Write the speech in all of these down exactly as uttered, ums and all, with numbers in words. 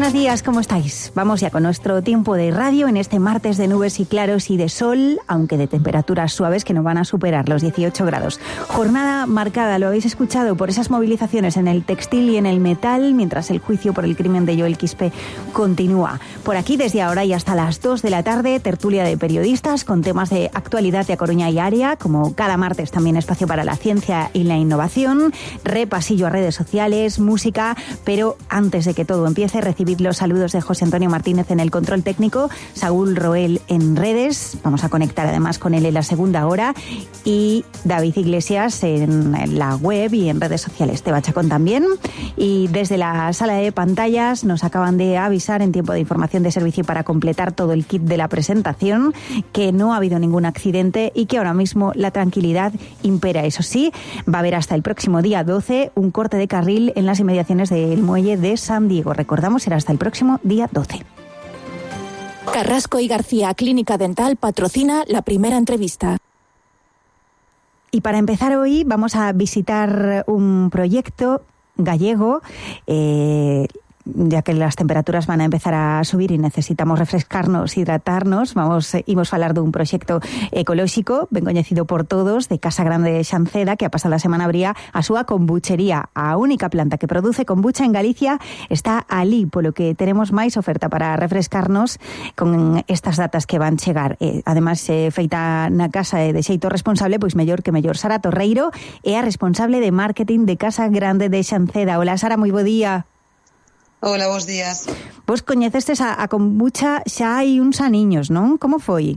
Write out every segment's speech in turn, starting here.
buenos días, ¿cómo estáis? Vamos ya con nuestro tiempo de radio en este martes de nubes y claros y de sol, aunque de temperaturas suaves que no van a superar los dieciocho grados. Jornada marcada, lo habéis escuchado, por esas movilizaciones en el textil y en el metal, mientras el juicio por el crimen de Joel Quispe continúa. Por aquí, desde ahora y hasta las dos de la tarde, tertulia de periodistas con temas de actualidad de A Coruña y área, como cada martes también espacio para la ciencia y la innovación, repasillo a redes sociales, música, pero antes de que todo empiece, recibid los saludos de José Antonio Martínez en el control técnico, Saúl Roel en redes, vamos a conectar además con él en la segunda hora, y David Iglesias en la web y en redes sociales, Teba Chacón también. Y desde la sala de pantallas nos acaban de avisar en tiempo de información de servicio para completar todo el kit de la presentación que no ha habido ningún accidente y que ahora mismo la tranquilidad impera. Eso sí, va a haber hasta el próximo día doce un corte de carril en las inmediaciones del muelle de San Diego. Recordamos, será hasta el próximo día doce. Carrasco y García Clínica Dental patrocina la primera entrevista. Y para empezar hoy vamos a visitar un proyecto gallego, eh, ya que las temperaturas van a empezar a subir y necesitamos refrescarnos, hidratarnos. Vamos, imos falar dun proxecto ecolóxico ben coñecido por todos, de Casa Grande de Xanceda, que a pasada semana abría a súa kombuchería. A única planta que produce kombucha en Galicia está alí, polo que teremos máis oferta para refrescarnos con estas datas que van chegar. Eh, además, eh, feita na casa e de xeito responsable, pois mellor que mellor. Sara Torreiro é a responsable de marketing de Casa Grande de Xanceda. Hola, Sara, moi bo día. Hola, bons días. Vos coñecestes a, a kombucha xa hai uns aniños, non? Como foi?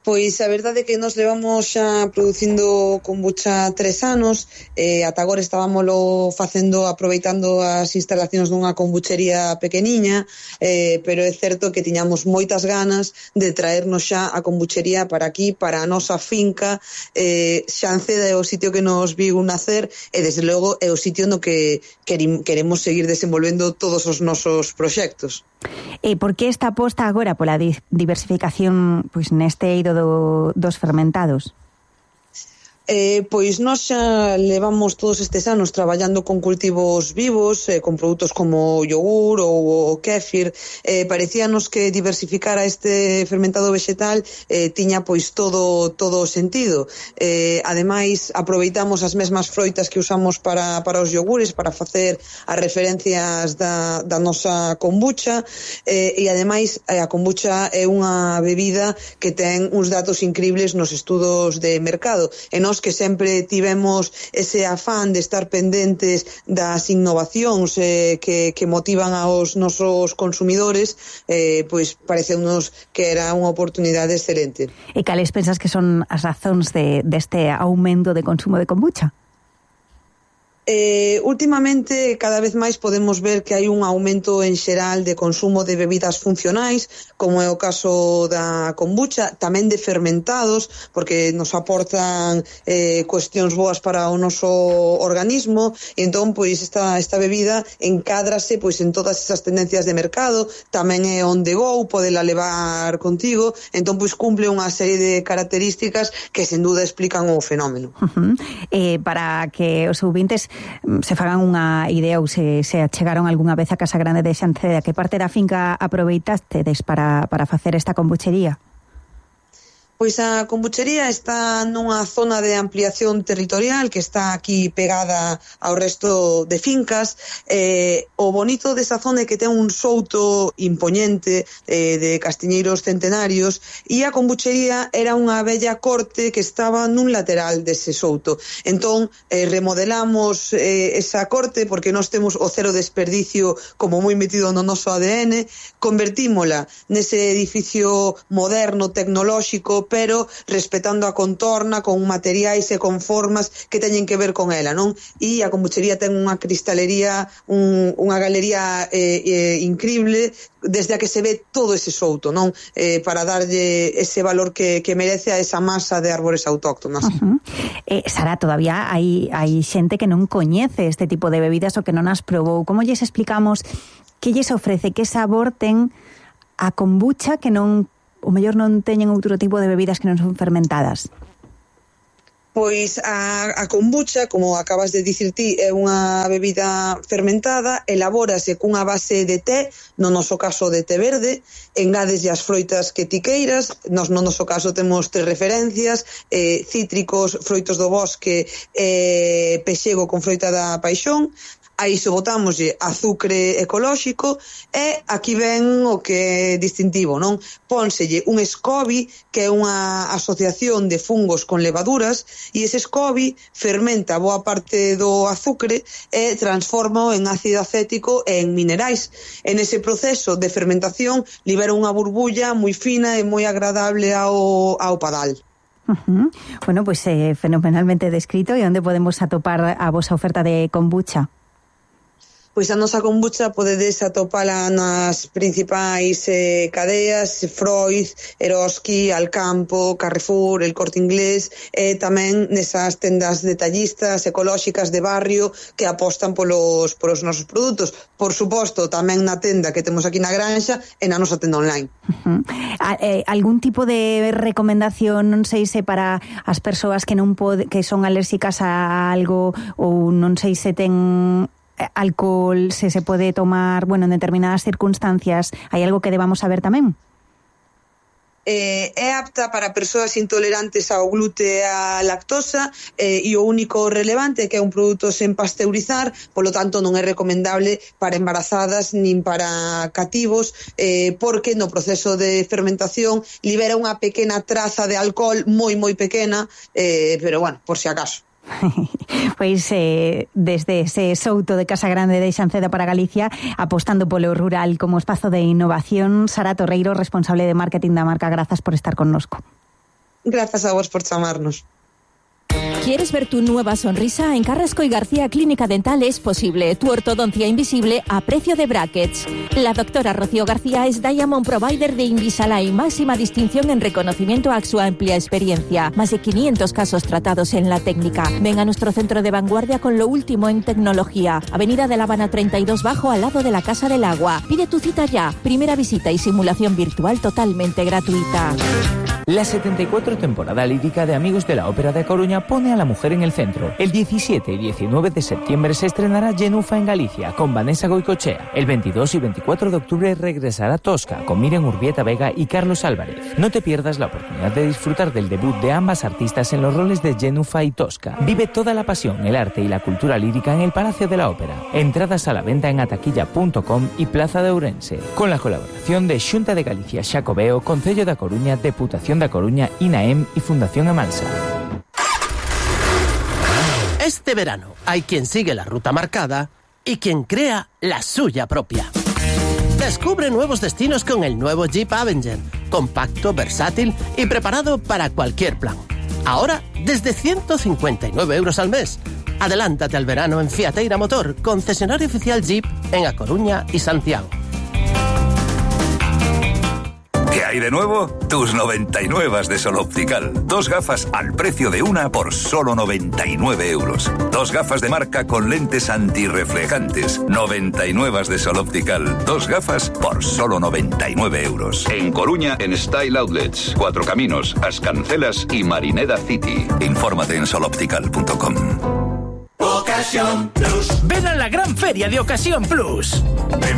Pois a verdade é que nos levamos xa producindo kombucha tres anos, e ata agora estábamoslo facendo aproveitando as instalacións dunha kombuchería pequeniña, eh, pero é certo que tiñamos moitas ganas de traernos xa a kombuchería para aquí, para a nosa finca. eh, Xanceda é o sitio que nos viu nacer e desde logo é o sitio no que queremos seguir desenvolvendo todos os nosos proxectos. E por que esta aposta agora pola diversificación pois neste eido do, dos fermentados? Eh, pois nós xa levamos todos estes anos traballando con cultivos vivos, eh, con produtos como o yogur ou o kéfir. Eh, parecíanos que diversificar a este fermentado vegetal eh, tiña pois todo todo o sentido. Eh, ademais, aproveitamos as mesmas froitas que usamos para, para os yogures, para facer as referencias da, da nosa kombucha, eh, e ademais a kombucha é unha bebida que ten uns datos incribles nos estudos de mercado, e nós que sempre tivemos ese afán de estar pendentes das innovacións eh, que, que motivan aos nosos consumidores, eh, pois pareceunos que era unha oportunidade excelente. E cales pensas que son as razóns de, deste aumento de consumo de kombucha? Eh, últimamente cada vez máis podemos ver que hai un aumento en xeral de consumo de bebidas funcionais, como é o caso da kombucha, tamén de fermentados, porque nos aportan eh, cuestións boas para o noso organismo, e entón pois esta, esta bebida encádrase pois en todas esas tendencias de mercado, tamén é on the go, podela levar contigo, entón pois cumple unha serie de características que sen duda explican o fenómeno. Uh-huh. Eh, para que os ouvintes se fagan unha idea ou se, se achegaron algunha vez a Casa Grande de Xanceda, que parte da finca aproveitastedes para, para facer esta kombuchería? Pois a kombuchería está nunha zona de ampliación territorial que está aquí pegada ao resto de fincas. Eh, o bonito desa zona é que ten un souto impoñente eh, de castiñeiros centenarios, e a kombuchería era unha bella corte que estaba nun lateral dese souto. Entón, eh, remodelamos eh, esa corte porque nós temos o cero desperdicio como moi metido no noso A D N, convertímola nese edificio moderno, tecnolóxico, pero respetando a contorna, con materiais e con formas que teñen que ver con ela, non? E a kombuchería ten unha cristalería, un, unha galería eh, eh, increíble, desde a que se ve todo ese souto, non? Eh, para darlle ese valor que, que merece a esa masa de árbores autóctonas. Uh-huh. eh, Sara, todavía hai, hai xente que non coñece este tipo de bebidas ou que non as probou. Como lles explicamos que lles ofrece, que sabor ten a kombucha que non, o mellor non teñen outro tipo de bebidas que non son fermentadas? Pois a, a kombucha, como acabas de dicir ti, é unha bebida fermentada, elabórase cunha base de té, no noso caso de té verde, engádeslle as froitas que ti queiras, nos, no noso caso temos tres referencias, eh, cítricos, froitos do bosque, eh, pexego con froita da paixón, a iso botámoslle azucre ecolóxico e aquí ven o que é distintivo, non? Pónselle un SCOBY, que é unha asociación de fungos con levaduras, e ese SCOBY fermenta boa parte do azucre e transforma en ácido acético e en minerais. En ese proceso de fermentación libera unha burbulla moi fina e moi agradable ao, ao padal. Uh-huh. Bueno, pues eh, fenomenalmente descrito. E onde podemos atopar a vosa oferta de kombucha? Pois a nosa kombucha podedes atopala nas principais eh, cadeas, Freud, Eroski, Alcampo, Carrefour, El Corte Inglés, e tamén nesas tendas detallistas ecolóxicas de barrio que apostan polos, polos nosos produtos. Por suposto, tamén na tenda que temos aquí na Granxa e na nosa tenda online. Uh-huh. A, eh, algún tipo de recomendación, non sei se para as persoas que non pode, que son alérxicas a algo, ou non sei se ten alcohol, se se pode tomar, bueno, en determinadas circunstancias, hai algo que debamos saber tamén? Eh, é apta para persoas intolerantes ao glute e á lactosa, eh, e o único relevante é que é un produto sen pasteurizar, polo tanto non é recomendable para embarazadas nin para cativos, eh, porque no proceso de fermentación libera unha pequena traza de alcohol, moi moi pequena, eh, pero bueno, por si acaso. Pois eh, desde ese souto de Casa Grande de Xanceda para Galicia, apostando polo rural como espazo de innovación, Sara Torreiro, responsable de marketing da marca, grazas por estar connosco. Grazas a vos por chamarnos. ¿Quieres ver tu nueva sonrisa? En Carrasco y García Clínica Dental es posible. Tu ortodoncia invisible a precio de brackets. La doctora Rocío García es Diamond Provider de Invisalign, máxima distinción en reconocimiento a su amplia experiencia. Más de quinientos casos tratados en la técnica. Ven a nuestro centro de vanguardia con lo último en tecnología. Avenida de La Habana treinta y dos Bajo, al lado de la Casa del Agua. Pide tu cita ya. Primera visita y simulación virtual totalmente gratuita. La setenta y cuatro temporada lírica de Amigos de la Ópera de Coruña pone a la mujer en el centro. El diecisiete y diecinueve de septiembre se estrenará Genufa en Galicia con Vanessa Goicochea. El veintidós y veinticuatro de octubre regresará Tosca con Miriam Urbieta Vega y Carlos Álvarez. No te pierdas la oportunidad de disfrutar del debut de ambas artistas en los roles de Genufa y Tosca. Vive toda la pasión, el arte y la cultura lírica en el Palacio de la Ópera. Entradas a la venta en ataquilla punto com y Plaza de Ourense. Con la colaboración de Xunta de Galicia, Xacobeo, Concello da Coruña, Deputación da Coruña, INAEM y Fundación Amansa. Este verano hay quien sigue la ruta marcada y quien crea la suya propia. Descubre nuevos destinos con el nuevo Jeep Avenger, compacto, versátil y preparado para cualquier plan. Ahora desde ciento cincuenta y nueve euros al mes. Adelántate al verano en Fiateira Motor, concesionario oficial Jeep en A Coruña y Santiago. ¿Qué hay de nuevo? Tus noventa y nueve de Sol Optical. Dos gafas al precio de una por solo noventa y nueve euros. Dos gafas de marca con lentes antirreflejantes. noventa y nueve de Sol Optical. Dos gafas por solo noventa y nueve euros. En Coruña, en Style Outlets, Cuatro Caminos, Ascancelas y Marineda City. Infórmate en sol optical punto com. Ocasión Plus. Ven a la gran feria de Ocasión Plus.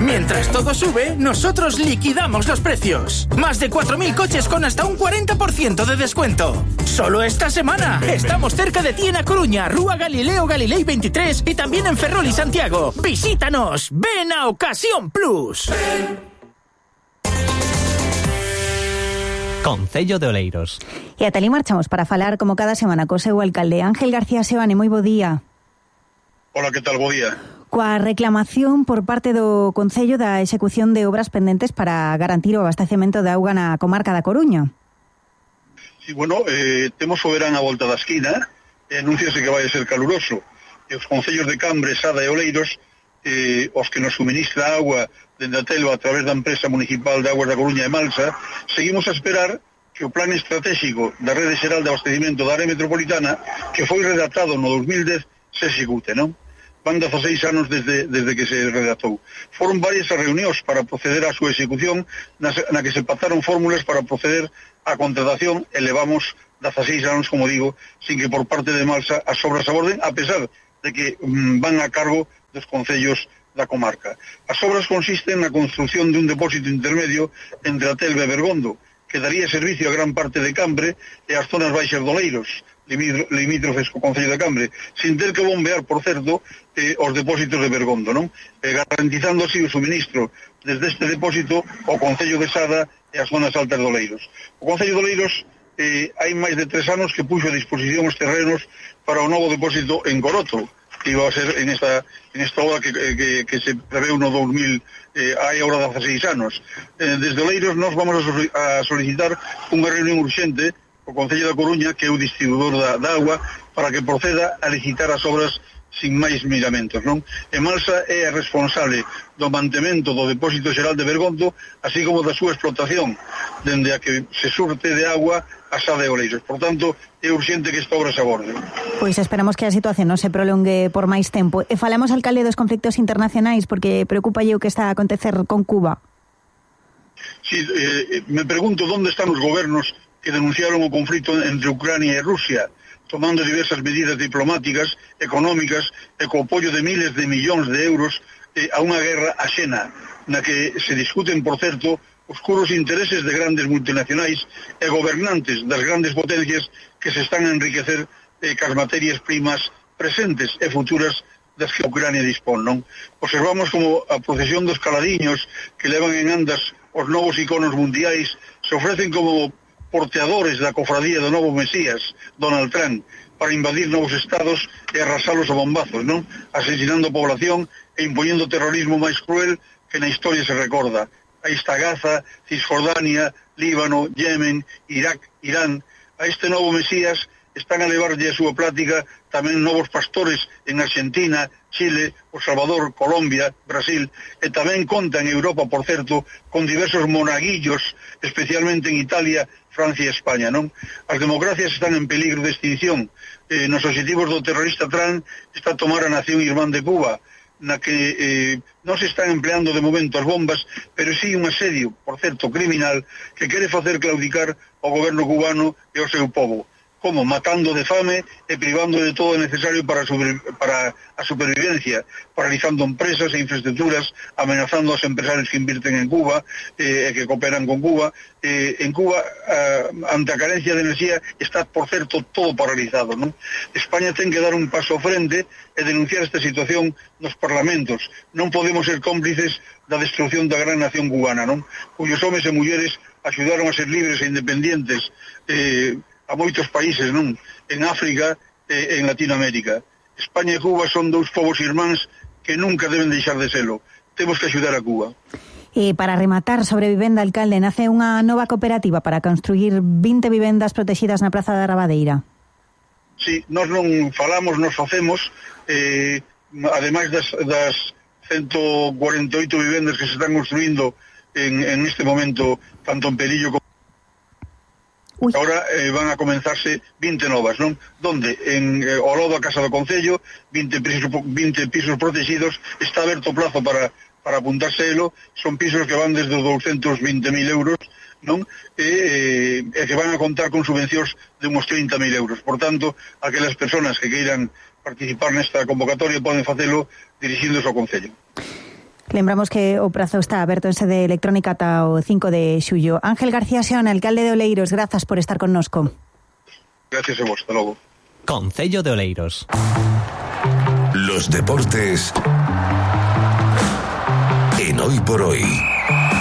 Mientras todo sube, nosotros liquidamos los precios. Más de cuatro mil coches con hasta un cuarenta por ciento de descuento. Solo esta semana. Estamos cerca de ti en A Coruña, Rúa Galileo Galilei veintitrés y también en Ferrol y Santiago. Visítanos. Ven a Ocasión Plus. Concello de Oleiros. E ata ali marchamos para falar como cada semana co seu alcalde Ángel García Sebane. Moi bo día. Hola, que tal? Bo día. Coa reclamación por parte do Concello da execución de obras pendentes para garantir o abastecemento de auga na comarca da Coruña. Sí, bueno, eh, temos o verán a volta da esquina, e anúnciase que vai ser caluroso. E os concellos de Cambre, Sada e Oleiros, eh, os que nos suministra agua dende a Telva a través da empresa municipal de aguas da Coruña e Malsa, seguimos a esperar que o plan estratégico da Rede Xeral de Abastecimiento da área metropolitana, que foi redactado no dos mil dez, se execute, non? Van dezaseis anos desde, desde que se redactou. Foron varias as reunións para proceder á súa execución, na, na que se pactaron fórmulas para proceder á contratación e levamos dezasseis anos, como digo, sin que por parte de Malsa as obras aborden, a pesar de que mm, van a cargo dos concellos da comarca. As obras consisten na construción dun depósito intermedio entre a Telva e Bergondo, que daría servicio a gran parte de Cambre e as zonas baixas do Oleiros, limítrofes co concello de Cambre, sin ter que bombear, por certo, eh, os depósitos de Bergondo, non? Eh, garantizando así o suministro desde este depósito ao concello de Sada e as zonas altas do Oleiros. O concello de Oleiros eh, hai máis de tres anos que puxo a disposición os terrenos para o novo depósito en Coroto, que iba a ser en esta en esta obra que, que, que se preveu no dos mil, eh, hai agora dezasseis anos. Eh, desde Oleiros nós vamos a solicitar unha reunión urxente co Concello da Coruña, que é o distribuidor da, da agua, para que proceda a licitar as obras sin máis miramentos, non? E Malsa é a responsable do mantemento do depósito xeral de Bergondo, así como da súa explotación, dende a que se surte de agua a Sada e Oleiros. Por tanto, é urxente que esta obra se aborde. Pois esperamos que a situación non se prolongue por máis tempo. E falamos, alcalde, dos conflictos internacionais, porque preocupa o que está a acontecer con Cuba. Sí, eh, me pregunto onde están os gobernos que denunciaron o conflito entre Ucrania e Rusia, tomando diversas medidas diplomáticas, económicas e co apoio de miles de millóns de euros eh, a unha guerra axena, na que se discuten, por certo, oscuros intereses de grandes multinacionais e gobernantes das grandes potencias que se están a enriquecer eh, cas materias primas presentes e futuras das que Ucrania dispón, non? Observamos como a procesión dos caladiños que levan en andas os novos iconos mundiais se ofrecen como porteadores da cofradía do novo Mesías, Donald Trump, para invadir novos estados e arrasalos a bombazos, non? Asesinando a población e impoñendo o terrorismo máis cruel que na historia se recorda. Aí está Gaza, Cisjordania, Líbano, Yemen, Irak, Irán. A este novo Mesías están a levarlle a súa plática tamén novos pastores en Argentina, Chile, O Salvador, Colombia, Brasil, e tamén conta en Europa, por certo, con diversos monaguillos, especialmente en Italia, Francia e España, non? As democracias están en peligro de extinción. Eh, nos objetivos do terrorista Trump está a tomar a nación irmán de Cuba, na que eh, non se están empleando de momento as bombas, pero sí un asedio, por certo, criminal, que quere facer claudicar o goberno cubano e o seu povo. Como? Matando de fame e privando de todo o necesario para, sobre, para a supervivencia, paralizando empresas e infraestructuras, amenazando aos empresarios que invirten en Cuba e eh, que cooperan con Cuba. Eh, en Cuba, eh, ante a carencia de enerxía, está, por certo, todo paralizado, non? España ten que dar un paso frente e denunciar esta situación nos parlamentos. Non podemos ser cómplices da destrucción da gran nación cubana, non? Cuyos homes e mulleres axudaron a ser libres e independientes eh, a moitos países, non? En África e en Latinoamérica. España e Cuba son dous povos irmáns que nunca deben deixar de selo. Temos que axudar a Cuba. E para rematar sobre vivenda, alcalde, nace unha nova cooperativa para construir vinte vivendas protegidas na Praza da Rabadeira. Sí, nós non falamos, nos facemos, eh, ademais das, das ciento cuarenta e oito vivendas que se están construindo en, en este momento, tanto en Perillo como Uy. Ahora eh, van a comenzarse vinte novas, non? Donde en eh, ao lado da Casa do Concello, vinte pisos, vinte pisos protegidos, está aberto plazo para, para apuntarse elo, son pisos que van desde os doscientos veinte mil euros, non? E, eh, e que van a contar con subvencións de uns trinta mil euros. Por tanto, aquelas persoas que queiran participar nesta convocatoria poden facelo dirixíndose ao Concello. Lembramos que o prazo está aberto en sede electrónica ata o cinco de xullo. Ángel García Seón, alcalde de Oleiros, grazas por estar connosco. Gracias a vos, hasta logo. Concello de Oleiros. Los deportes en Hoy por Hoy.